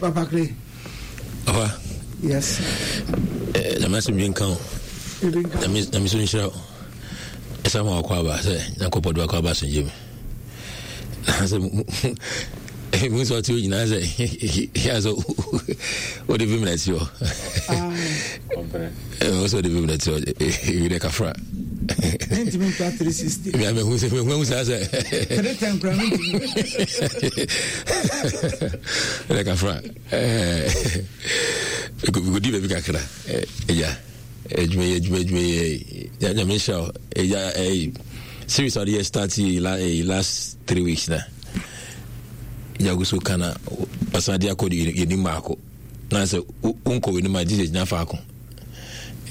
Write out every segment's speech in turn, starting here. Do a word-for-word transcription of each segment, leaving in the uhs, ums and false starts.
Papa Clay. Papa. Yes. Eh, nyame asɛmdwe nka wo. Nyame so nhyira wo. Ɛsɛ ma wakɔ aba sɛ Nyankopɔn de wakɔ aba asomdwe mu. Na sɛ mu sɛ ɔte hɔ nyinaa sɛ yɛ sɛ wode vim na ti hɔ. Wo sɛ wode vim na ti hɔ ewi dɛ kafra. Mentumi ntwa three sixty. Mehu sɛ mehu saa sɛ three ten kora mentumi. Dɛ kafra kɔdi baabi kakra. Ɛgya adwuma yi, adwuma, adwuma yi, Nyame nhyira wo. Ɛgya ɛyi series a wɔde yɛ start yi last three weeks na ɛgya gu so ka na ɔsan de akɔ yɛnim baako na sɛ wonkɔ w'anim a Jesus gyina faako,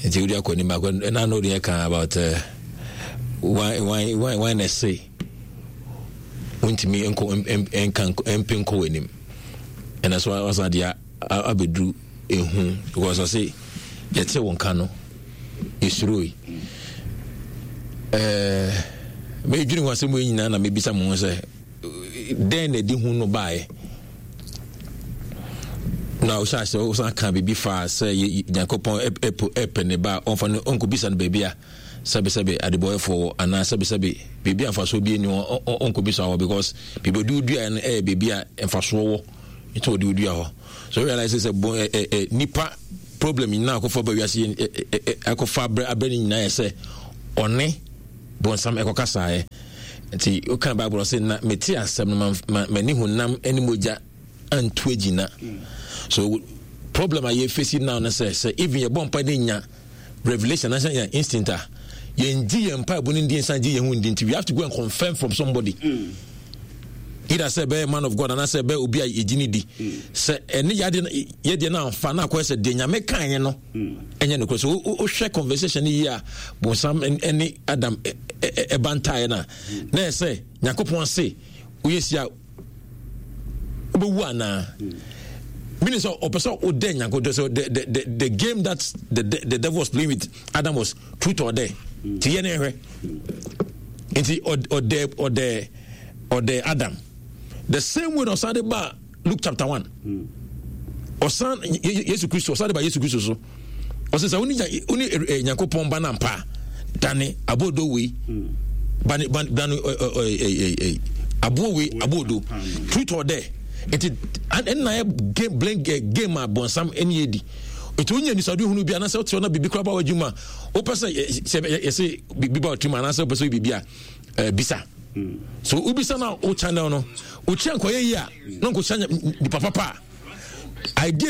nti wode akɔ anim baako. Ɛna na wode yɛ ka about uh, why why why why na ɛse wontumi nkɔ nka mpe nkɔ w'anim. Ɛna so wasan de abɛduru ehu because ɔse yɛte wo nka no yɛsuro yi. Ɛɛ medwene ho asɛm yi nyinaa na mebisa mo ho sɛ dɛn na ɛde hu no baeɛ, na wohyɛ ahyɛ wosan ka biribi fa sɛ Nyankopɔn ɛpɛ ne ba a ɔmfa no ɔnkɔbisa no baabi a sɛbesɛbe adebɔyɛfoɔ wɔ, anaa sɛbesɛbe biribi a mfasoɔ bi ani ɔnkɔbisa hɔ, because biribi ɔde wodua no ɛyɛ biribi a mfasoɔ wɔ, nti ɔde wodua hɔ. So realize sɛ bɔn ɛ ɛ nipa problem nyinaa akɔfa ba wiase, akɔfa abrɛ abrɛ ne nyinaa yɛ sɛ ɔne bɔnsam ɛkɔkasaeɛ. Nti woka Bible sɛ na mete asɛm no m'ani honam ne mogya antu agyina. So problem a yɛfɛsi now no sɛ sɛ even yɛbɔ mpa ne nya revelation anaasɛ nya instinct a, yɛngye yɛn mpaebɔ no ndi, nsan gye yɛn ho ndi. Nti we have to go and confirm from somebody mm. either sɛ ɛbɛyɛ man of God anaasɛ ɛbɛyɛ obi a yɛgye ne di sɛ ɛne yɛadeɛ yɛdeɛ no amfa na akɔyɛ sɛ deɛ Nyame kaeɛ no ɛnyɛ nokorɛ. So wohwɛ conversation no yie a, bonsam ne Adam ɛba ntaeɛ no a, na yɛ sɛ Nyankopɔn se woyɛ si a wobɛwu anaa, meaning sɛ ɔpɛ sɛ wodɛ Nyankopɔn. So the, the, the, the game that the, the, the devil was playing with Adam was truth or dare. Nti yɛ ne hwɛ, nti ɔdɛ ɔdɛ ɔdɛ Adam the same way na ɔsan de ba Luke chapter one, ɔsan Yesu Kristo, ɔsan de ba Yesu Kristo so, ɔsɛ sɛ wone wone Nyankopɔn ba no ampa a, dane aboodo wei, bane dane aboɔ wei aboodo. Truth or dare. Nti ɛnna yɛ game blame game a bɔnsam ɛne yɛ di. Nti wonya nisade hunu bi anaasɛ wote hɔ na biribi koraa ba w'adwuma a, wopɛ sɛ sɛ yɛsɛ biribi ba w'atirim anaasɛ wopɛ sɛ biribi a bisa so, wobisa no a wo channel no wokyia nkɔyɛ yi a na nkɔhyia nipa papa a idea.